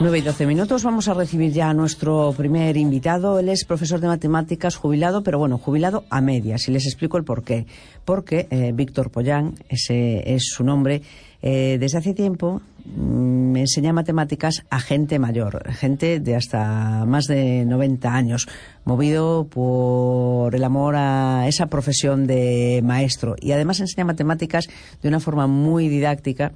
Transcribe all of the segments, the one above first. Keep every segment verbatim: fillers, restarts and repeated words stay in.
nueve y doce minutos, vamos a recibir ya a nuestro primer invitado. Él es profesor de matemáticas jubilado, pero bueno, jubilado a medias, y les explico el porqué. Porque eh, Víctor Pollán, ese es su nombre, eh, desde hace tiempo me enseña matemáticas a gente mayor, gente de hasta más de noventa años, movido por el amor a esa profesión de maestro, y además enseña matemáticas de una forma muy didáctica,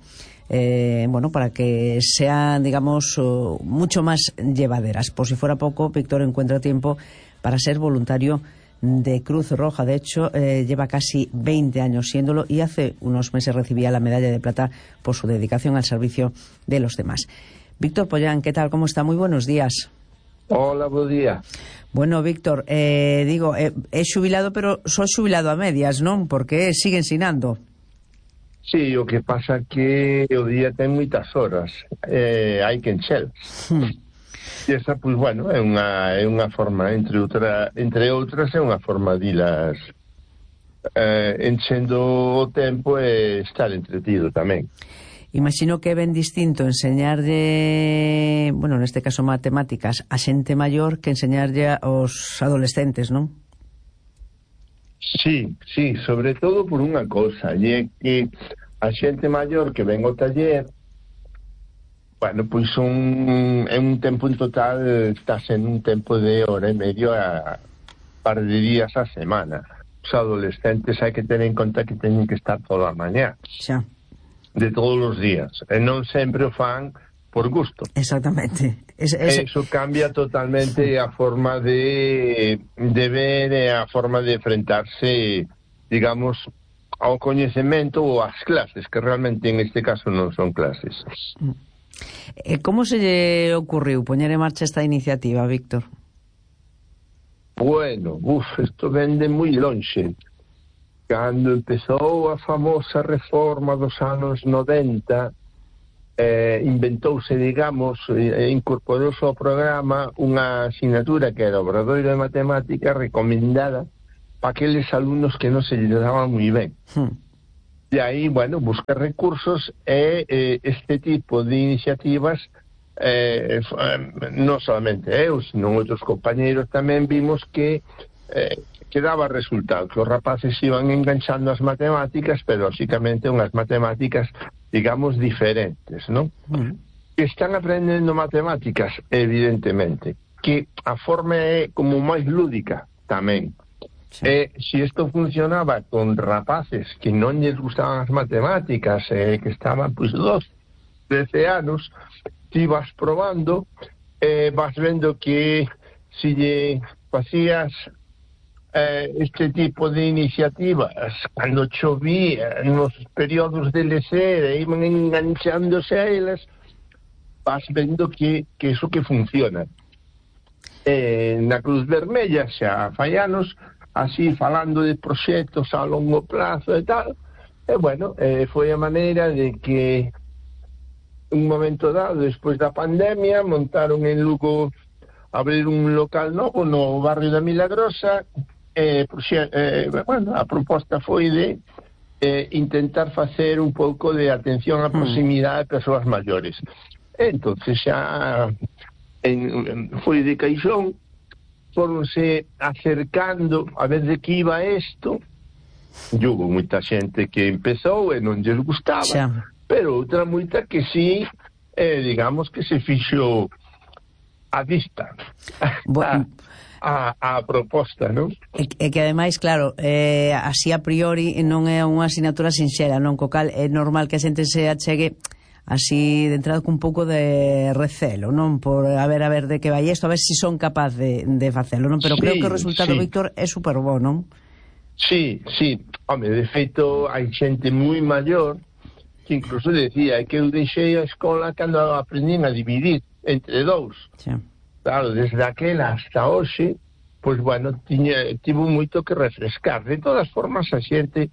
eh, bueno, para que sean, digamos, uh, mucho más llevaderas. Por si fuera poco, Víctor encuentra tiempo para ser voluntario de Cruz Roja. De hecho, eh, lleva casi veinte años siéndolo, y hace unos meses recibía la medalla de plata por su dedicación al servicio de los demás. Víctor Pollán, ¿qué tal? ¿Cómo está? Muy buenos días. Hola, buen día. Bueno, Víctor, eh, digo, eh, es xubilado, pero soy xubilado a medias, ¿non? Porque sigue ensinando. Sí, o que pasa que o día ten moitas horas, eh, hai que enchelas. Hmm. E esa, pois, bueno, é unha, é unha forma, entre, outra, entre outras, é unha forma de ilas eh, enchendo o tempo e estar entretido tamén. Imagino que é ben distinto enseñarlle, bueno, neste caso matemáticas, a xente maior que enseñarlle aos adolescentes, non? Sí, sí, sobre todo por unha cousa, e é que a xente maior que ven ao taller, bueno, pois un, é un tempo en total, está sendo un tempo de hora e medio a par de días a semana. Os adolescentes hai que ter en conta que teñen que estar toda a mañá. Xa. De todos os días. E non sempre o fan por gusto. Exactamente. Es, es... Eso cambia totalmente a forma de, de ver e a forma de enfrentarse, digamos, ao coñecemento ou ás clases, que realmente en este caso non son clases. E como se lle ocurriu poñer en marcha esta iniciativa, Víctor? Bueno, uf, isto vende moi lonxe. Cando empezou a famosa reforma dos anos noventa, eh, inventouse, digamos, e incorporouse ao programa unha asignatura que era Obradoiro de Matemática recomendada para aqueles alumnos que non se lle daban moi ben. Hmm. E aí, bueno, buscar recursos e eh, este tipo de iniciativas, eh, non solamente eu, sino outros compañeros tamén vimos que eh, que daba resultado, que os rapaces iban enganchando as matemáticas, pero lógicamente unhas matemáticas, digamos, diferentes, non? Mm. Que están aprendendo matemáticas, evidentemente, que a forma é como máis lúdica tamén. Sí. E se isto funcionaba con rapaces que non lles gustaban as matemáticas, eh, que estaban, pois, doce, trece anos, ti vas probando, eh, vas vendo que se lle facías Eh, este tipo de iniciativas, cando chovía nos períodos de lecer e iban enganchándose a elas, vas vendo que, que eso que funciona. Eh, na Cruz Vermella xa fai anos, así falando de proxectos a longo plazo e tal, e bueno, eh, foi a maneira de que un momento dado, despois da pandemia, montaron en Lugo, abrir un local novo no barrio da Milagrosa. Eh, eh, bueno, a proposta foi de eh, intentar facer un pouco de atención á proximidade de persoas maiores. Entonces xa en, en, foi de caixón, foronse acercando a ver de que iba isto, e hubo moita xente que empezou e non lles gustaba, xa. Pero outra moita que sí, eh, digamos que se fixo a vista. Bueno. A, a proposta, non? E, e que ademais, claro, eh, así a priori non é unha asignatura sinxela, non? Co cal é normal que a xente se achegue así de entrada con un pouco de recelo, non? Por a ver, a ver de que vai isto, a ver se si son capaz de, de facelo, non? Pero sí, creo que o resultado, sí. Víctor, é super bo, non? Sí, sí. Home, de feito, hai xente moi maior que incluso decía que eu deixei a escola cando aprendín a dividir entre dous. Sí. Claro, desde aquela hasta hoxe, pois, bueno, tiña, tivo moito que refrescar. De todas formas, a xente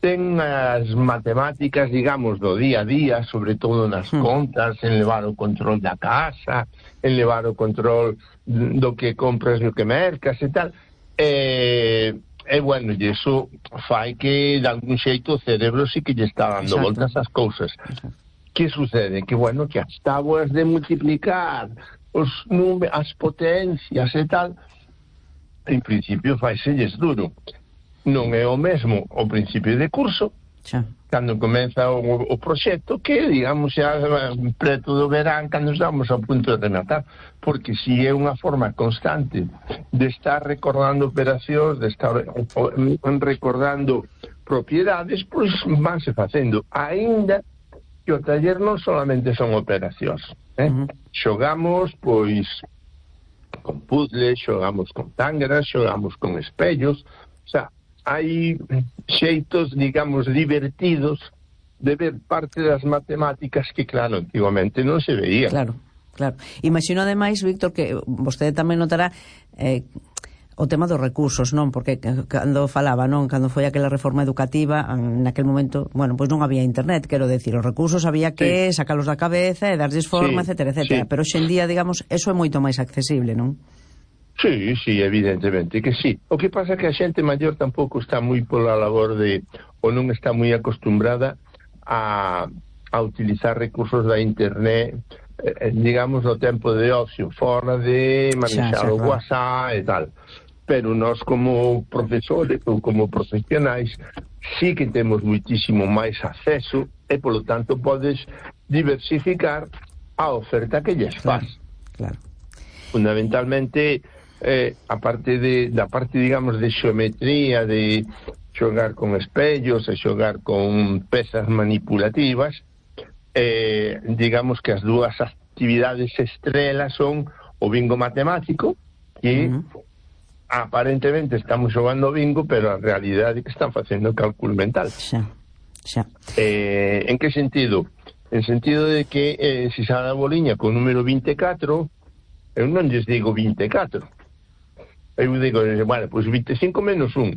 ten as matemáticas, digamos, do día a día, sobre todo nas hmm. contas, en levar o control da casa, en levar o control do que compras e o que mercas e tal. E, e bueno, e iso fai que, de algún xeito, o cerebro sí que lle está dando Exacto. voltas ás cousas. Exacto. que sucede? Que, bueno, que as tábuas de multiplicar os números, as potencias e tal, en principio faiselles duro. Non é o mesmo o principio de curso, xa, cando comeza o, o proxecto, que, digamos, xa preto do verán, cando estamos a punto de rematar, porque si é unha forma constante de estar recordando operacións, de estar recordando propiedades, pois vanse facendo, aínda que o taller non solamente son operacións, eh? Uh-huh. Xogamos, pois, con puzzles, xogamos con tángaras, xogamos con espellos, o sea, hai xeitos, digamos, divertidos de ver parte das matemáticas que, claro, antigamente non se veía. Claro, claro. Imagino, ademais, Víctor, que vostede tamén notará eh, o tema dos recursos, non? Porque cando falaba, non? Cando foi aquela reforma educativa, naquel momento, bueno, pois non había internet, quero decir, os recursos había que sí. sacalos da cabeza e darlles forma, sí, etcétera, etcétera. Sí. Pero hoxe en día, digamos, eso é moito máis accesible, non? Sí, sí, evidentemente que sí. O que pasa é que a xente maior tampouco está moi pola labor de, ou non está moi acostumbrada a, a utilizar recursos da internet, eh, digamos, no tempo de ocio, fora de manexar o WhatsApp e tal. Pero nós como profesores ou como profesionais sí que temos muitísimo máis acceso e, polo tanto, podes diversificar a oferta que lles faz. Claro, claro. Fundamentalmente, eh, a parte de, da parte, digamos, de xeometría, de xogar con espellos e xogar con pezas manipulativas, eh, digamos que as dúas actividades estrelas son o bingo matemático, que uh-huh. aparentemente estamos xogando bingo, pero a realidade é que están facendo cálculo mental. Xa, xa. Eh, en que sentido? En sentido de que eh, se xa da boliña con o número vinte e catro, eu non lles digo vinte e catro. Eu digo, bueno, pois vinte e cinco menos un.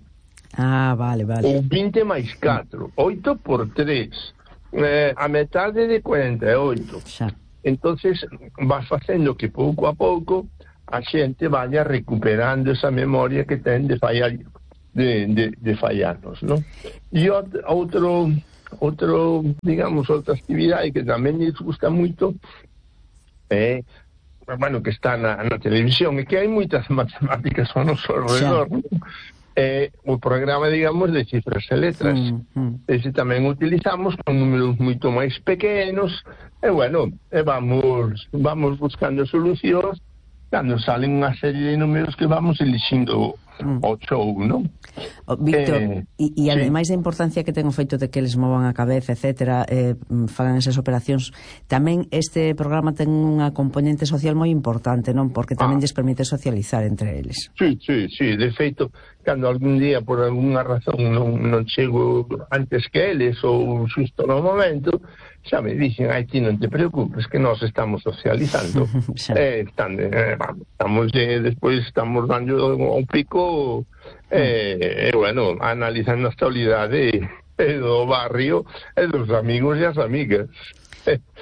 Ah, vale, vale. Ou vinte máis catro. oito por tres. Eh, a metade de cuarenta e oito. Xa. Entonces, vas facendo que pouco a pouco a xente vaya recuperando esa memoria que ten de fallar, de, de, de fallarnos, ¿no? E outro, outro, digamos, outra actividade que tamén lles gusta moito é, eh, bueno, que está na, na televisión, e que hai moitas matemáticas ao noso alrededor, ¿no? É o programa, digamos, de cifras e letras. Mm, mm. Ese tamén utilizamos con números moito máis pequenos, e, bueno, e vamos, vamos buscando solucións cando salen unha serie de números que vamos elixindo mm. o show, non? Oh, Víctor, e eh, ademais sí. da importancia que ten o feito de que eles movan a cabeza, etcétera, eh, fagan esas operacións, tamén este programa ten unha componente social moi importante, non? Porque tamén ah. lles permite socializar entre eles. Sí, sí, sí, de feito, cando algún día por algunha razón non, non chego antes que eles ou xusto no momento, xa me dixen, ai, ti non te preocupes, que nós estamos socializando. eh, están, eh, vamos, estamos, eh, despois estamos dando un pico, eh, eh, bueno, analizando a actualidade eh, do barrio e dos amigos e as amigas.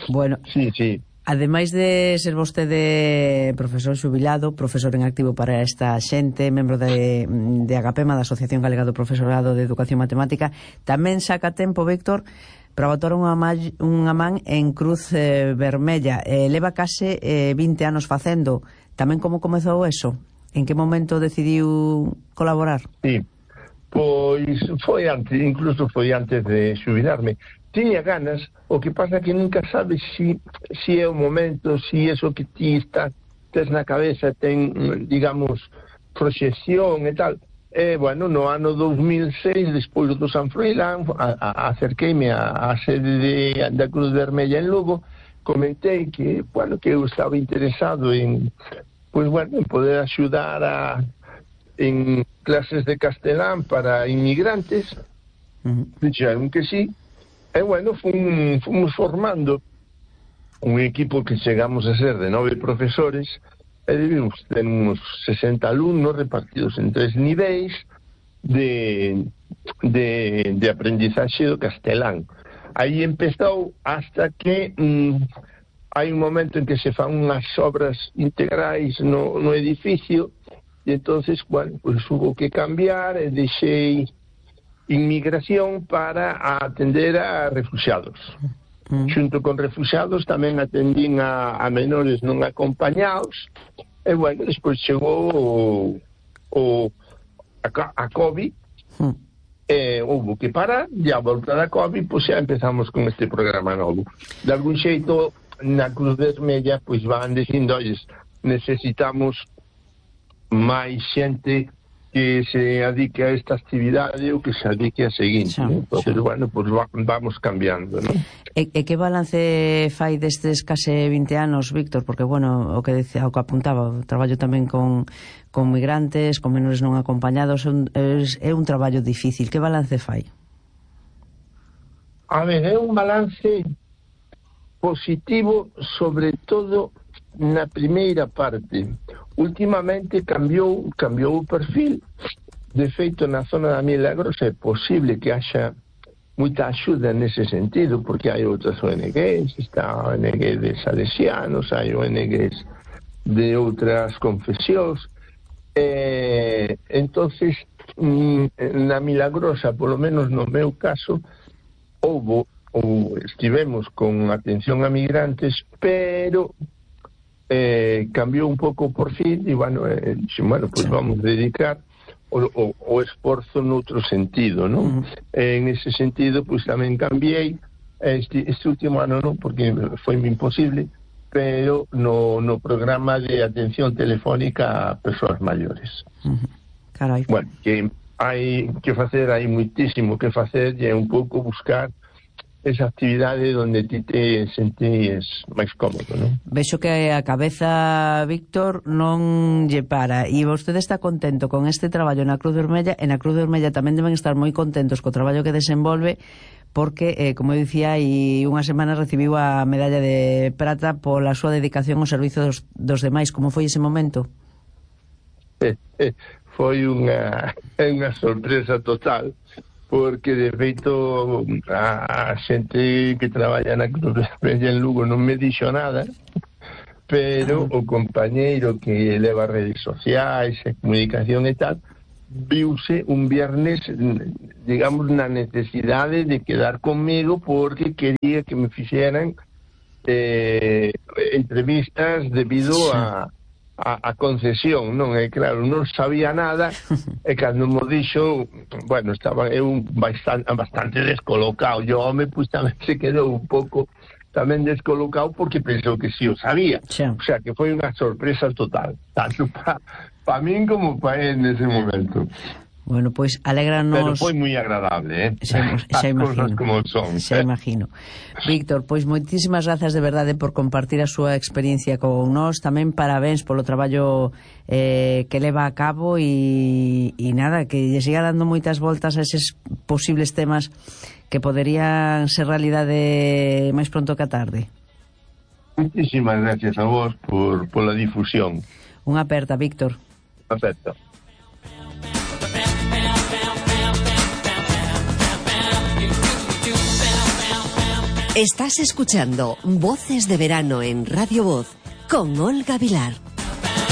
Bueno, sí, sí. Ademais de ser vostede profesor xubilado, profesor en activo para esta xente, membro de, de Agapema, da Asociación Galega do Profesorado de Educación Matemática, tamén saca tempo, Víctor, para botar unha, unha man en Cruz eh, Vermella. Eh, leva case eh, vinte anos facendo. Tamén como comezou eso? En que momento decidiu colaborar? Sí, pois foi antes, incluso foi antes de xubilarme. Tiña ganas, o que pasa que nunca sabes si, si é o momento, si eso que ti está, tes na cabeza ten, digamos, proxección e tal. E, bueno, no ano dos mil seis, despois do San Froilán, a, a, acerqueime a, a sede de, da Cruz Vermella en Lugo, comentei que, bueno, que eu estaba interesado en, pues, bueno, en poder axudar a, en clases de castelán para inmigrantes. Uh-huh. Dixeron que sí. E, bueno, fum, fomos formando un equipo que chegamos a ser de nove profesores, e debimos ter uns sesenta alumnos repartidos en tres niveis de, de, de aprendizaxe do castelán. Aí empezou hasta que mm, hai un momento en que se fan unhas obras integrais no, no edificio, e entonces, bueno, pues hubo que cambiar, e deixei inmigración para atender a refugiados. Mm. Xunto con refugiados tamén atendín a, a menores non acompañados, e bueno, despois chegou o, o a, a COVID, mm. e houve que parar, e a volta da COVID, pois xa empezamos con este programa novo. De algún xeito, na Cruz Vermella, pois van dicindo, olles, necesitamos máis xente que se adique a esta actividade ou que se adique a seguinte. Xa, entonces, xa. Bueno, pues va, vamos cambiando, ¿no? E, e que balance fai destes case vinte anos, Víctor? Porque, bueno, o que decía, o que apuntaba, o traballo tamén con, con migrantes, con menores non acompañados, é un, é, é un traballo difícil. Que balance fai? A ver, é un balance positivo, sobre todo na primeira parte. Últimamente cambiou cambiou o perfil. De feito, na zona da Milagrosa é posible que haxa moita axuda nese sentido, porque hai outras O N Gs, está a O N G de salesianos, hai O N Gs de outras confesións. Eh, entonces, na Milagrosa, polo menos no meu caso, houbo ou estivemos con atención a migrantes, pero Eh, cambiou un pouco por fin e bueno, eh, dixen, bueno, pues vamos a dedicar o, o, o esforzo noutro sentido, non? Uh -huh. eh, en ese sentido, pues tamén cambiei este, este último ano, non, porque foi imposible, pero no, no programa de atención telefónica a persoas maiores. Uh -huh. Carai. Bueno, que hai que facer, hai muitísimo que facer, e é un pouco buscar esa actividade onde ti te sentíes máis cómodo, non? Vexo que a cabeza, Víctor, non lle para, e vostede está contento con este traballo na Cruz Vermella, e na Cruz Vermella tamén deben estar moi contentos co traballo que desenvolve, porque, eh, como eu dicía, hai unha semana recibiu a medalla de prata pola súa dedicación ao servizo dos, dos demais. Como foi ese momento? Eh, eh, foi unha, unha sorpresa total, porque de feito a, a xente que traballa na Cruz Vermella en Lugo non me dixo nada, pero o compañeiro que leva redes sociais e comunicación e tal, viuse un viernes, digamos, na necesidade de quedar conmigo porque quería que me fixeran eh, entrevistas debido a A, a concesión, non? É claro, non sabía nada, e cando mo dixo, bueno, estaba eu bastante, bastante descolocado. Yo, home, pues tamén se quedou un pouco tamén descolocado porque pensou que si sí o sabía. Sí. O sea, que foi unha sorpresa total, tanto para pa min como para él nese momento. Bueno, pois pues, alégranos... Pero foi moi agradable, eh? Xa, xa imagino. Como son, xa eh? imagino. Víctor, pois pues, moitísimas grazas de verdade por compartir a súa experiencia con nós. Tamén parabéns polo traballo eh, que leva a cabo e, e nada, que lle siga dando moitas voltas a eses posibles temas que poderían ser realidade máis pronto que a tarde. Moitísimas gracias a vos por, por la difusión. Unha aperta, Víctor. Unha aperta. Estás escuchando Voces de Verano en Radio Voz con Olga Vilar.